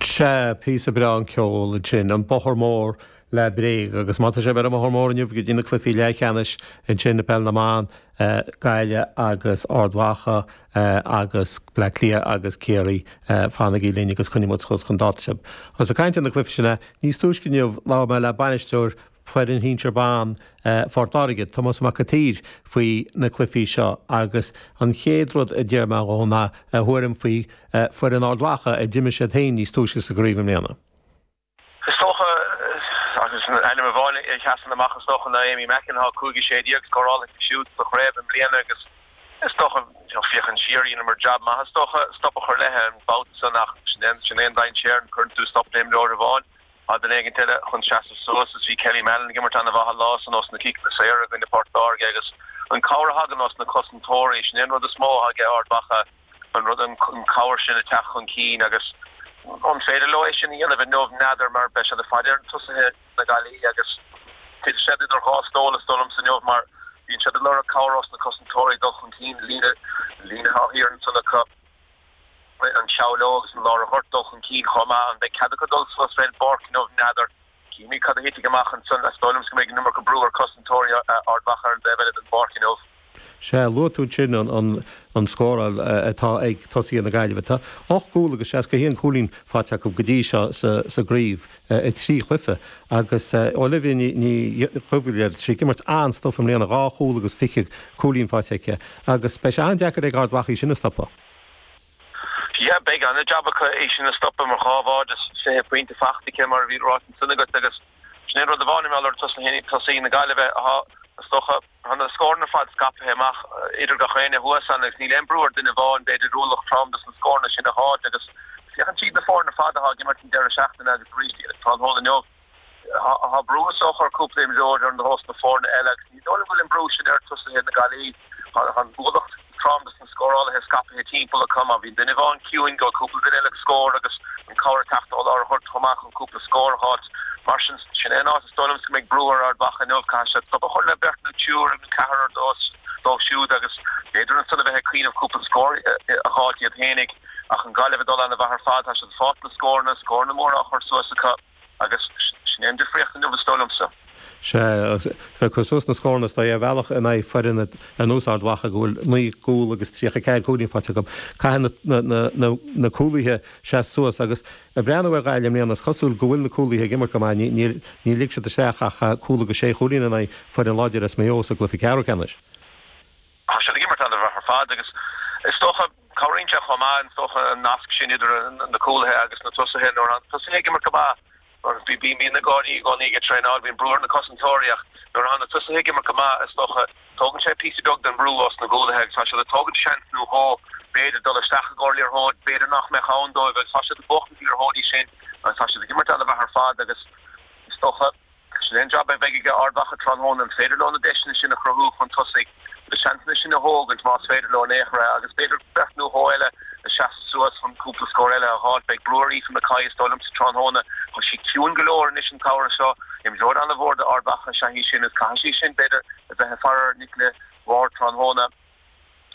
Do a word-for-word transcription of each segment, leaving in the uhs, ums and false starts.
Sea, píosa breá an ceol ansin, an Bóthar Mór le Bréag, agus má tá sibh ar an mBóthar Mór inniu go dtí na cluichí leathcheannais ansin i bPeil na mBan, Gaillimh agus Ard Mhacha agus Bleá Cliath agus Ciarraí, fanaigí linn agus coinneoidh muid suas chun dáta sibh. Agus ag caint ar na cluichí sin, níos túisce inniu labhair mé le bainisteoir foireann shinsir ban Phort Láirge, Tomás Mac an tSaoir, faoi na cluichí seo agus an chéad rud a d'iarr mé dhó ná a thuairim faoi foireann Ard Mhacha a d'imir siad féin níos túisce sa gcraobh i mbliana. Is dócha, agus ainm amháin a sheasann amach is dócha ná Amy Mackin, tá cúig a sé déag scóráilte aici siúd sa chraobh i mbliana agus is dócha, féachaint siar, dheineamar jab maith is dócha stop a chur léi an babhta san ach sin é an dainséar, cuireann tú stop le imreoir amháin. Tá duine éigint eile chun seasamh suas is bhí Kelly Mallon ag imirt ana-mhaith an lá san ós na ciceanna saora i gcoinne Port Láirge agus an cabhair a thagann ós na cosantóirí, sin é an rud is mó atá ag Ard Mhacha, an rud, an cabhair sin ag teacht chun cinn agus an féidir leo é sin a dhéanamh inniu, n'fheadar mar beidh siad ag faire ar tosaithe na Gaillimhe agus titfidh siad idir dhá stól is dóigh liomsa inniu mar bíonn siad ag lorg cabhair ós na cosantóirí dul chun cinn, líne, líne atá thiar ansan acu. an tSeabhlóg agus an lár an ghoirt dul chun cinn chomh maith. An mbeidh cead acu dul suas fén bpáirc inniu? N'fheadar. Cífimid cad a thitfidh amach ansan. Is dóigh liomsa go mbeidh an iomarca brú ar cosantóirí Ard Mhacha ar an dtaobh eile den bpáirc inniu. Sea, luaigh tú ansin an scóráil atá ag tosaithe na Gaillimhe. Tá ocht gcúl agus seasca a haon cúilín faighte acu go dtí seo sa gcraobh i trí chluiche agus Olivia Ní Dhubhghaill, tá sí ag imirt an-stuif i mbliana, dhá chúl agus fiche cúilín faighte aici agus beidh sé an-deacair ag Ard Mhacha í sin a stopadh. Yeah, beidh an-jab acu í sin a stopadh mar dhá bhád is fiche pointe faighte aici mar a bhí ráite ansan agat agus sin é an rud amháin i ngeall ar tosaithe na Gaillimhe atá, is dócha, tá na scóranna ar fad scaipthe amach idir gach éinne thuas ann agus níl aon brú ar duine amháin b'fhéidir ualach trom dos na scóranna sin a fháilt agus féachann siad na foirne ar fad atá ag imirt an deireadh seachtaine agus arís tráthnóna inniu. Tá brú is dócha ar cúpla imreoir ar nós na foirne eile agus ní dóigh liom go bhfuil an brú sin ar tosaithe na Gaillimhe. Tá an ualach trom dos na scórálaithe scaipthe timpeall acu. Má bhíonn duine amháin ciúin, gheobhaidh cúpla duine eile scór agus an cabhair ag teacht ó lár an ghoirt chomh maith chun cúpla scór a fháilt. Mar sin, sin é an áit is dóigh liomsa go mbeidh brú ar Ard Mhacha inniu. Caithfidh siad stop a chur le beirt nó triúr nó ceathrar dóibh siúd agus b'fhéidir ansan a bheith ag cuimhneamh cúpla scór a fháilt iad fhéinig. Ach an Ghaillimh ag dul ana-mhaith ar fad. Tá siad ag fáilt na scóranna, scóranna móra á chur suas acu. Agus sin é an difríocht inniu, is dóigh liomsa. Sea, agus bheith ag cur suas na scóranna is dóigh ar bhealach in aghaidh foireann ar nós Ard Mhacha go bhfuil naoi gcúl agus tríocha ceathair cúilín faighte acu. Caithfidh na cúlaithe seasamh suas agus ag breathnú ar Ghaillimh i mbliana is cosúil go bhfuil na cúlaithe ag imirt go maith. Níor lig siad isteach ach cúl agus sé chúilín in aghaidh foireann láidir as Maigh Eo sa gcluiche ceathrú ceannais. Tá siad ag imirt an-mhaith ar fad agus is dócha, cabhraíonn sé chomh maith, is dócha, an nasc sin idir na cúlaithe agus na tosaithe. Nuair atá na tosaithe ag imirt go maith, bíonn na gardaí i gcónaí ag traenáil, bíonn brú ar na cosantóirí ach nuair atá na tosaithe ag imirt go maith, is dócha, tógann sé píosa beag den bhrú os na gcúlaithe agus tá siad ag tógaint seans nó dhó, b'fhéidir, dul isteach i gcomhair liathróid, b'fhéidir nach mbeadh ann dóibh agus tá siad ag buachtaint na liathróidí sin agus tá siad ag imirt an-mhaith ar fad agus is dócha, Sin é an jab a bheidh ag Ard Mhacha tráthnóna, an féidir leo na deiseanna sin a chruthú chun tosaigh, na seansanna sin a thógaint más féidir leo in aon chor é, agus b'fhéidir beirt nó dhó eile a seasamh suas chun cúpla scór eile a fháilt. Beidh brú ar Aoife McCoy is dóigh liomsa tráthnóna. Tá sí ciúin go leor anois an tsamhradh seo. Imreoir an-mhór d'Ard Mhacha is ea í sin agus caithfidh sí sin, b'fhéidir, a bheith ag faire ar Nicola Ward tráthnóna.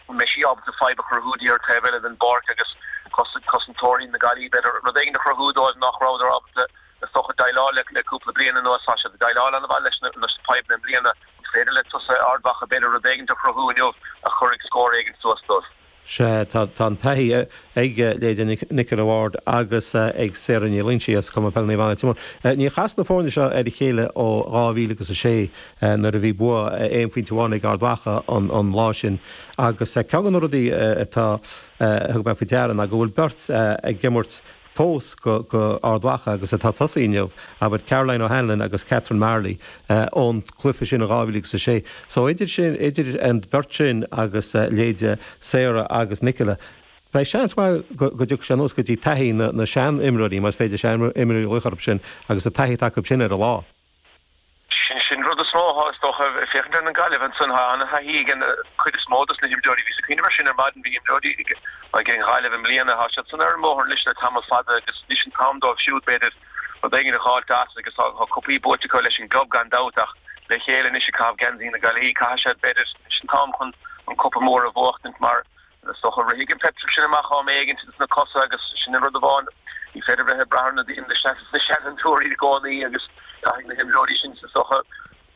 An mbeidh sí ábalta fadhb a chruthú di ar an taobh eile den bpáirc agus cosantóirí na Gaillimhe, b'fhéidir, rud éigin a chruthú dóibh nach rabhadar ábalta, is dócha, déileáil le le cúpla bliain anuas. Tá siad ag déileáil an-mhaith leis na fadhbanna i mbliana. An féidir le tosaithe Ard Mhacha, b'fhéidir, rud éigin a chruthú inniu a chuirfidh scór éigin suas dóibh? Sea, tá an taithí ag leithéidí Nicola Ward agus ag Sarah Ní Loingsigh as Cumann Peile Naomh Anna Leitir Móir. Níor chas na foirne seo ar a chéile ó dhá mhíle agus a sé nuair a bhí bua aon phointe amháin ag Ard Mhacha an lá sin agus ceann de na rudaí atá a thug mé faoi deara ná go bhfuil beirt ag imirt fós go Ard Mhacha agus atá ag tosaí inniu, abair Caroline O'Hanlon agus Catherine Marley ón gcluiche sin in dhá mhíle agus a sé. So idir sin, idir an bheirt sin agus leithéide Sarah agus Nicola, beidh seans maith go dtiocfaidh sé anuas go dtí taithí na sean-imreoirí, más féidir sean-imreoirí a ghlaoch orthu sin, agus an taithí atá acu sin ar an lá. Sin an rud is mó atá, is dócha, ag féachaint ar an Gaillimh ansan. Tá ana-thaithí ag an chuid is mó dos na himreoirí. Bhíos ag cuimhneamh air sin ar maidin, bhí imreoirí ag an Ghaillimh i mbliana, tá siad san ar an mbóthar anois le tamall fada agus anois an t-am dóibh siúd, b'fhéidir, rud éigin a dh'fháilt as agus tá cupaí buaite acu leis an gclub gan dabht ach le chéile anois ag caitheamh geansaí na Gaillimhe, caithfidh siad, b'fhéidir, anois an t-am chun an cupa mór a bhuachtaint mar Is dócha, rithfidh an peitreal sin amach am éigin ins na cosa agus sin an rud amháin Ní féidir bheith ag brath ar na na seanfhondúirí i gcónaí agus caithfidh na himreoirí sin is dócha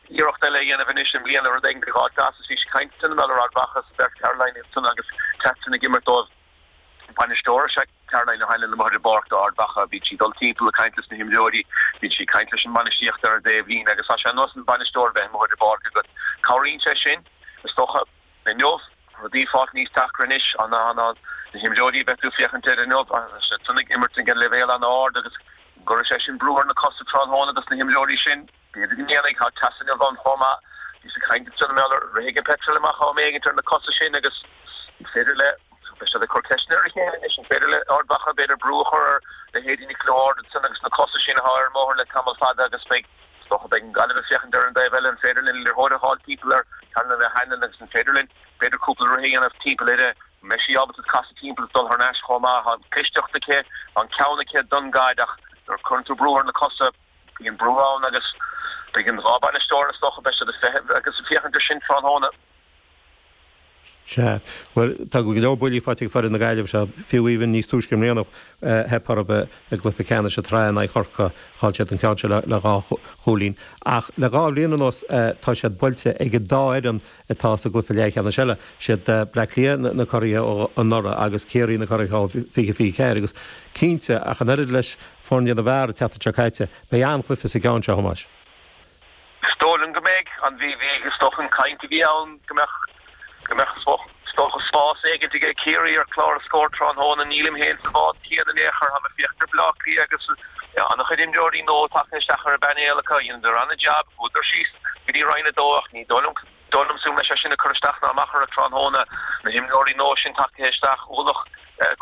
iarracht eile a dhéanamh anois i mbliana rud éigin a fháil as. Bhí sé caint ann ar Ard Mhacha sa bheirt Caroline ansan agus Catherine ag imirt dóibh. Bainisteoir is ea Caroline O'Hanlon amuigh ar an bpáirc do Ard Mhacha. Bíonn sí ag dul timpeall ag caint leis na himreoirí, bíonn sí ag caint leis an mbainistíocht ar an dtaobhlíne agus tá sé ar nós an bainisteoir bheith amuigh ar an bpáirc agat. Cabhraíonn sé sin, is dócha, inniu, rudaí fáil níos deacra anois, an na himreoirí a bheidh tú ag féachaint air inniu, siad san ag imirt ag an leibhéal an-ard agus an gcuirfidh sé sin brú ar na cosa tráthnóna dos na himreoirí sin? B'fhéidir go ndéanfaidh, tá teas inniu ann chomh maith. Bhíos ag caint ansan i mBéal rithfidh an peitreal amach am éigint ar na cosa sin agus an féidir le, beidh siad ag cur ceisteanna ar a chéile anois, an féidir le Ard Mhacha b'fhéidir brú a chur ar leithéidí Nicola Ward ansan agus na cosa sin atá ar an mbóthar le tamall fada agus beidh, is dócha, beidh an Ghaillimh ag féachaint ar an dtaobh eile, an féidir linn liathróid a fháil timpeall ar Caroline O'Hanlon agus an féidir linn b'fhéidir cúpla rith a dhéanamh timpeall uirthi, an mbeidh sí ábalta casadh timpeall is dul thar n-ais chomh maith, tá an clisteacht aici, tá an ceann aici don gcaid ach nuair a chuireann tú brú ar na cosa, bíonn brú ann agus beidh an dhá bhainisteoir is dócha, beidh siad ag feitheamh agus ag féachaint air sin tráthnóna. Sea. Bhuel, tá go leor buillí faighte ag foireann na Gaillimhe seo, fiú amháin níos túisce i mbliana, theip orthu i gcluiche ceannais na sraithe in aghaidh Chorcaí, chaill siad an ceann seo le dhá chúilín. Ach le dhá bhliain anuas tá siad buailte ag an dá fhoireann atá sa gcluiche leathcheannais eile, siad Bleá Cliath na curaithe ó anuraidh agus Ciarraí na curaithe ó fiche fiche ceathair agus cinnte, ach an oiread leis foirne na bhfear an tseachtain seo caite, beidh an-chluiche sa gceann seo, a Thomáis. Is dóigh liom go mbeidh. An bhí, bhí, is dócha an chaint a bhí ann go mbeadh, go mbeadh, is dócha spás éigin aige Ciarraí ar chlár na scór tráthnóna. Nílim féin sa bhád céanna in aon chor. Tá mé ag féachaint ar Bhleá Cliath agus an-chuid imreoirí nua tagtha isteach ar an bpainéal acu. Dheineadar an-jab, chuadar síos go dtí Roinn a Dó ach ní dóigh liom, dóigh liomsa go mbeidh sé sin ag cur isteach ná amach orthu tráthnóna. Na himreoirí nua sin tagtha isteach, ualach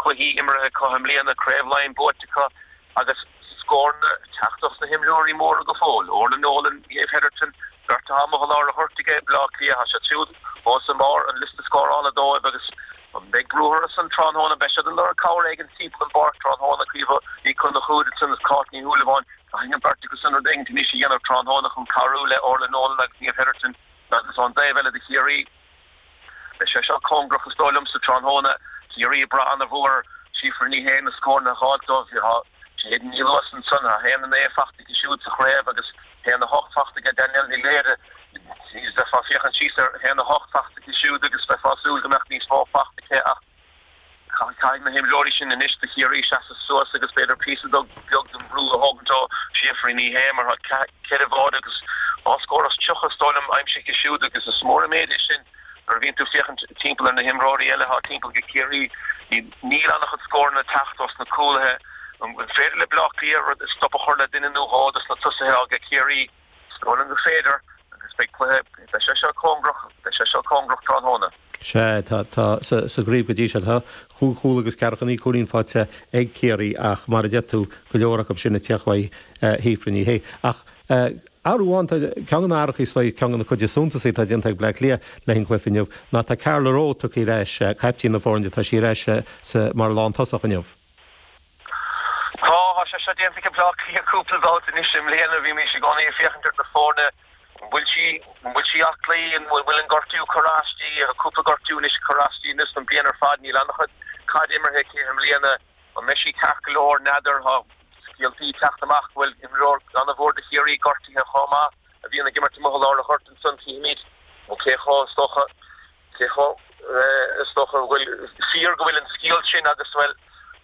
cluichí imeartha acu i mbliana, Craobh Laighean buaite acu agus scóranna ag teacht dos na himreoirí móra go fóill, Orla Nolan, Niamh Hetherton, beirt atá amuigh i lár an ghoirt aige Bleá Cliath, tá siad siúd os i mbarr an liosta scórála dóibh agus an mbeidh brú orthu san tráthnóna? Beidh siad ag lorg cabhair éigin timpeall an bpáirc tráthnóna, Caoimhe Ní Chonchúir ansan is Cáit Ní Shúilleabháin, caithfidh an bheirt acu san rud éigin anois a dhéanamh tráthnóna chun cabhrú le Orla Nolan agus Niamh Hetherton agus ón dtaobh eile do Chiarraí. Beidh sé seo cóngarach is dóigh liomsa tráthnóna. Ciarraí ag brath ana-mhór ar Síofra Ní Shé na scóranna a dh'fháilt dóibh. Tá Jade Ní Luasain ansan, tá a haon a naoi faighte aici siúd sa chraobh agus a haon a hocht faighte aige Danielle Ní Laoire. Bheifeá ag féachaint síos ar a haon a hocht faighte aici siúd agus bheifeá ag súil go mbeadh níos mó faighte aici ach Caithfidh na himreoirí sin anois do Chiarraí seasamh suas agus b'fhéidir píosa beag den bhrú a thógaint ó Shíofra Ní Shé mar tá ceithre bháide agus dhá scór is tríocha is dóigh liom aimsithe aici siúd agus is mór an méid é sin nuair a bhíonn tú ag féachaint timpeall ar na himreoirí eile atá timpeall ag Ciarraí. Níl an-chuid scóranna ag teacht os na cúlaithe. An féidir le Bleá Cliath rud stop a chur le duine nó dhó dos na tosaithe aige Ciarraí? Is dóigh liom gur féidir agus beidh cluiche, beidh sé seo cóngarach, beidh sé seo cóngarach tráthnóna. Sea, tá, tá, sa, sa gcraobh go dtí seo, tá chúig chúl agus ceathracha naoi cúilín faighte ag Ciarraí ach mar a deir tú, go leor acu sin ag teacht uaidh Shíofra Ní Shé. Ach athrú amháin, tá, ceann de na hathruithe is dóigh, ceann de na cuid is suntasaí atá déanta ag Bleá Cliath le haghaidh an chluiche inniu ná tá Carla Rowe tugtha ar ais, caiptín na foirne, tá sí ar ais sa, mar lántosach inniu. Tá, tá sé seo déanta ag Bleá Cliath cúpla babhta anois i mbliana. Bhímís i gcónaí ag féachaint ar na foirne, an bhfuil sí, an bhfuil sí aclaí, an bhfuil an gortú cur aisti, tá cúpla gortú anois cur aisti anois an bliain ar fad, níl an-chuid caide imeartha aici i mbliana, an mbeidh sí ceart go leor, n'fheadar, tá scéaltaí ag teacht amach go bhfuil imreoir an-mhór do Chiarraí gortaithe chomh maith a bhíonn ag imirt amuigh i lár an ghoirt ansan, tchífimid cé chomh, is dócha, Cé chomh, is dócha go bhfuil, fíor go bhfuil an scéal sin agus, bhuel,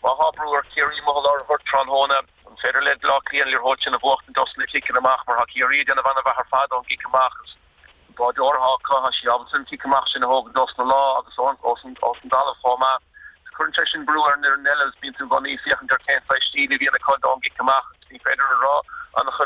má thá brú ar Chiarraí amuigh i lár an ghoirt tráthnóna, an féidir le Bleá Cliath an liathróid sin a bhuachtaint dos na ciceanna amach mar thá Ciarraí ag déanamh ana-mhaith ar fad ón gcic amach agus an báideoir athá acu, thá sí ábalta an cic amach sin a thógaint os na lámha agus os an dtalamh chomh maith. Cuireann sé sin brú ar an fhoireann eile agus bíonn tú i gcónaí ag féachaint ar cén saghas stíl a bhíonn acu ón gcic amach agus ní féidir a rá an-chuid